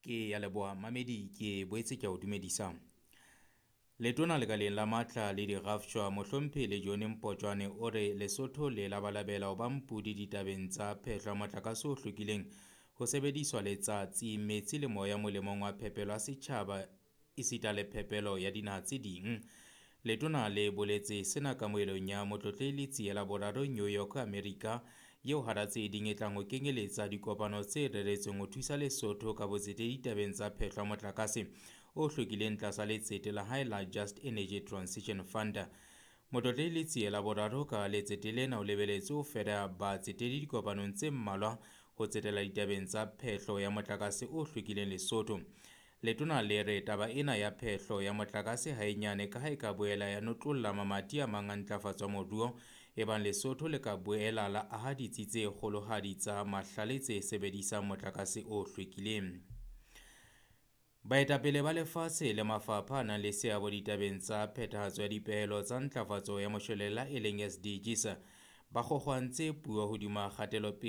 Ke ya leboha mamedi, ke boetse ke a o dumedisa. Letona lekaleng la matla le dirafshwa Mohlomphehi Lejone Mpotjwane o re Lesotho le labalabela ho ba mpudi ditabeng tsa phehlo ya motlakase o hlwekileng ho sebediswa letsatsi, metsi le moya molemong wa phepelo ya setjhaba esita le phepelo ya dinaha tse ding. Letona le boletse sena kamohelong ya Motlotlehi Letsie la Boraro New York, America, eo hara tse ding e tlang ho kenyeletsa dikopano tse reretsweng ho thusa Lesotho ka botsetedi ditabeng tsa phehlo ya motlakase o hlwekileng tlasa letsete la hae la Just Energy Transition Fund. Motlotlehi Letsie la Boraro ka letsete lena o lebeletse ho fera batsetedi dikopanong tse mmalwa ho tsetela ditabeng tsa phehlo ya motlakase o hlwekileng Lesotho. Letona le re taba ena ya phehlo ya motlakase ha e nyane ka ha e ka boela ya notlolla mamati a mang a ntlafatso ya moruo ebang Lesotho le ka boela la aha ditsi tse kgolohadi tsa mahlale tse sebedisang motlakase o hlwekileng. Baetapele ba lefatshe le mafapha a nang le seabo ditabeng tsa phethahatso ya dipehelo tsa ntlafatso ya moshwelella e leng SDGs ba kgokgoantse puo hodima kgatelopele.